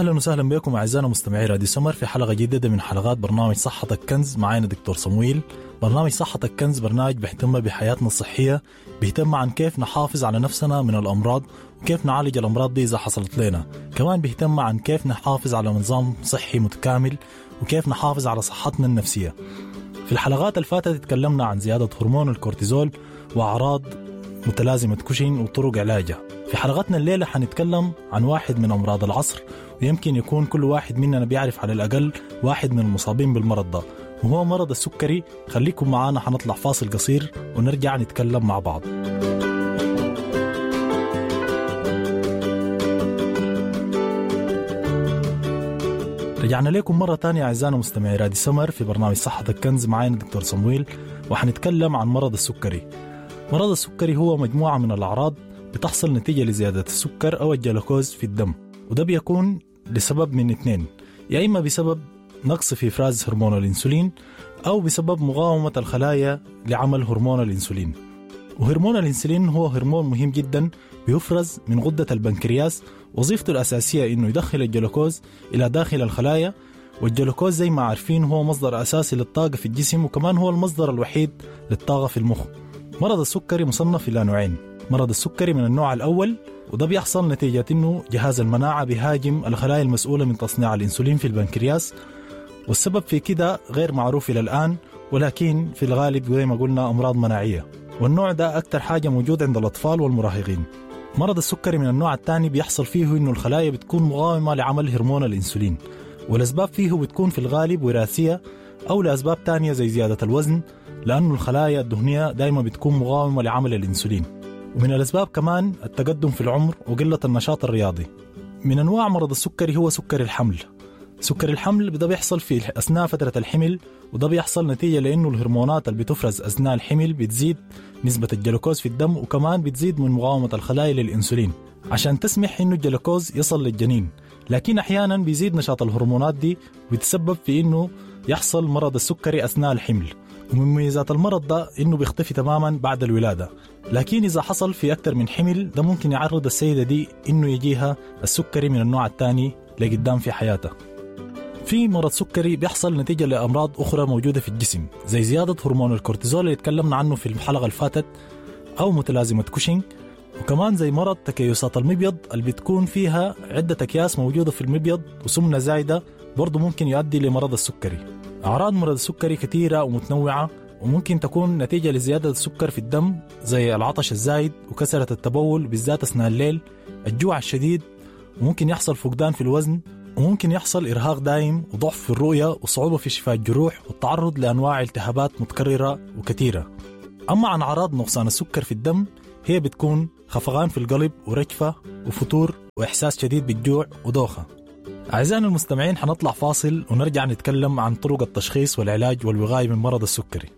اهلا وسهلا بكم اعزائنا مستمعي راديو سمر في حلقة جديدة من حلقات برنامج صحتك كنز. معانا دكتور صمويل. برنامج صحتك كنز برنامج بيهتم بحياتنا الصحية، بيهتم عن كيف نحافظ على نفسنا من الامراض وكيف نعالج الامراض دي اذا حصلت لنا، كمان بيهتم عن كيف نحافظ على نظام صحي متكامل وكيف نحافظ على صحتنا النفسية. في الحلقات اللي فاتت تكلمنا عن زيادة هرمون الكورتيزول واعراض متلازمة كوشين وطرق علاجها. في حلقتنا الليلة حنتكلم عن واحد من أمراض العصر، ويمكن يكون كل واحد مننا بيعرف على الأقل واحد من المصابين بالمرض ده، وهو مرض السكري. خليكم معانا، حنطلع فاصل قصير ونرجع نتكلم مع بعض. رجعنا لكم مرة تانية أعزائنا مستمعي راديو سمر في برنامج صحتك كنز. معانا دكتور صمويل وحنتكلم عن مرض السكري. مرض السكري هو مجموعة من الأعراض بتحصل نتيجة لزيادة السكر أو الجلوكوز في الدم، وده بيكون لسبب من اثنين، يا إما بسبب نقص في إفراز هرمون الإنسولين أو بسبب مقاومة الخلايا لعمل هرمون الإنسولين. وهرمون الإنسولين هو هرمون مهم جدا بيفرز من غدة البنكرياس، وظيفته الأساسية إنه يدخل الجلوكوز إلى داخل الخلايا، والجلوكوز زي ما عارفين هو مصدر أساسي للطاقة في الجسم، وكمان هو المصدر الوحيد للطاقة في المخ. مرض السكري مصنف إلى نوعين، مرض السكري من النوع الأول، وده بيحصل نتيجة إنه جهاز المناعة بيهاجم الخلايا المسؤولة من تصنيع الإنسولين في البنكرياس، والسبب في كده غير معروف إلى الآن، ولكن في الغالب زي ما قلنا أمراض مناعية، والنوع ده أكتر حاجة موجود عند الأطفال والمراهقين. مرض السكري من النوع الثاني بيحصل فيه إنه الخلايا بتكون مقاومة لعمل هرمون الإنسولين، والأسباب فيه بتكون في الغالب وراثية أو لأسباب تانية زي زيادة الوزن، لأنه الخلايا الدهنية دايما بتكون مقاومة لعمل الإنسولين. ومن الأسباب كمان التقدم في العمر وقلة النشاط الرياضي. من أنواع مرض السكري هو سكر الحمل. سكر الحمل ده بيحصل في أثناء فترة الحمل، وده بيحصل نتيجة لأنه الهرمونات اللي بتفرز أثناء الحمل بتزيد نسبة الجلوكوز في الدم، وكمان بتزيد من مقاومة الخلايا للإنسولين عشان تسمح إنه الجلوكوز يصل للجنين. لكن أحيانا بيزيد نشاط الهرمونات دي ويتسبب في إنه يحصل مرض السكري أثناء الحمل. ومن مميزات المرض ده إنه بيختفي تماما بعد الولادة، لكن إذا حصل في أكثر من حمل ده ممكن يعرض السيدة دي إنه يجيها السكري من النوع الثاني لقدام في حياتها. في مرض سكري بيحصل نتيجة لأمراض أخرى موجودة في الجسم، زي زيادة هرمون الكورتيزول اللي تكلمنا عنه في الحلقة اللي فاتت، أو متلازمة كوشينج، وكمان زي مرض تكيسات المبيض اللي بتكون فيها عدة أكياس موجودة في المبيض وسمنة زايدة، برضو ممكن يؤدي لمرض السكري. أعراض مرض السكري كثيرة ومتنوعة، وممكن تكون نتيجة لزيادة السكر في الدم زي العطش الزايد وكثرة التبول بالذات أثناء الليل، الجوع الشديد، وممكن يحصل فقدان في الوزن، وممكن يحصل إرهاق دائم وضعف في الرؤية وصعوبة في شفاء الجروح والتعرض لأنواع التهابات متكررة وكثيرة. أما عن أعراض نقصان السكر في الدم هي بتكون خفقان في القلب ورجفة وفتور وإحساس شديد بالجوع ودوخة. أعزائنا المستمعين حنطلع فاصل ونرجع نتكلم عن طرق التشخيص والعلاج والوقاية من مرض السكري.